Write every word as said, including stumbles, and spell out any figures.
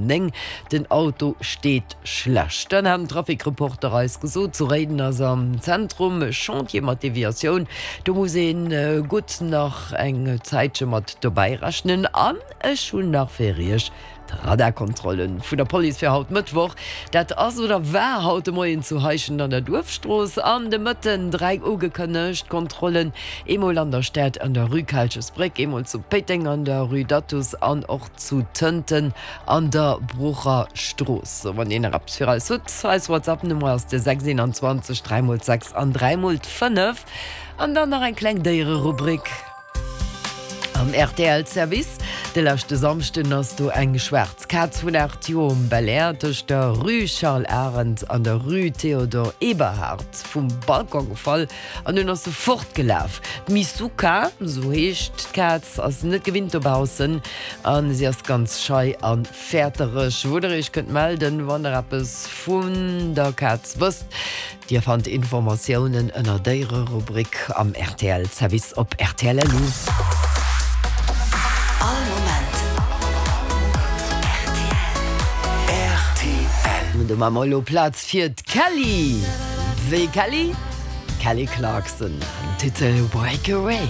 néng. Den Auto steet schlecht. Dann hat den Trafic-Reporter eis gesot, zu Réiden ass am Zentrum e Chantier mat Deviatioun. Do muss ee gutt nach eng Zäitche mat dobäi rechnen. An ech hunn nach fir iech d'Radarkontrollen vun der Police fir haut Mëttwoch. Dat ass oder war haut de Moien zu Heischent an der Duerfstrooss an de Mëtten dräi ugekënnegt Kontrollen, eemol an der Stad an der Rue Kalchesbréck, eemol zu Péiteng an der Rue d'Athus an och zu Tënten an der Brucher Strooss. Sou, wann dir nach eppes fir eis hutt, eis WhatsApp Nummer ass de sechs eenanzwanzeg dräi mol d'sechs an dräi mol d'fënnef. An dann nach eng kleng Déiererubrik am R T L Service. De leschte Samschden ass do eng schwaarz Kaz vun aacht Joer um Belair tëscht der Rue Charles Arendt an der Rue Théodore Eberhard vum Balcon gefall an dunn ass se fortgelaf. D'Misuka, sou heescht d'Kaz, ass net gewinnt dobaussen a si ass ganz schei a fäertereg. Wou der iech kënnt melden, wann der eppes vun der Kaz wësst. Dir fannt Informatiounen ënner Déiererubrik am R T L Service op R T L L U. All Moment R T L. Do maache mer elo Plaz fir d'Kelly. Wéi Kelly? Kelly Clarkson, den Titel Breakaway.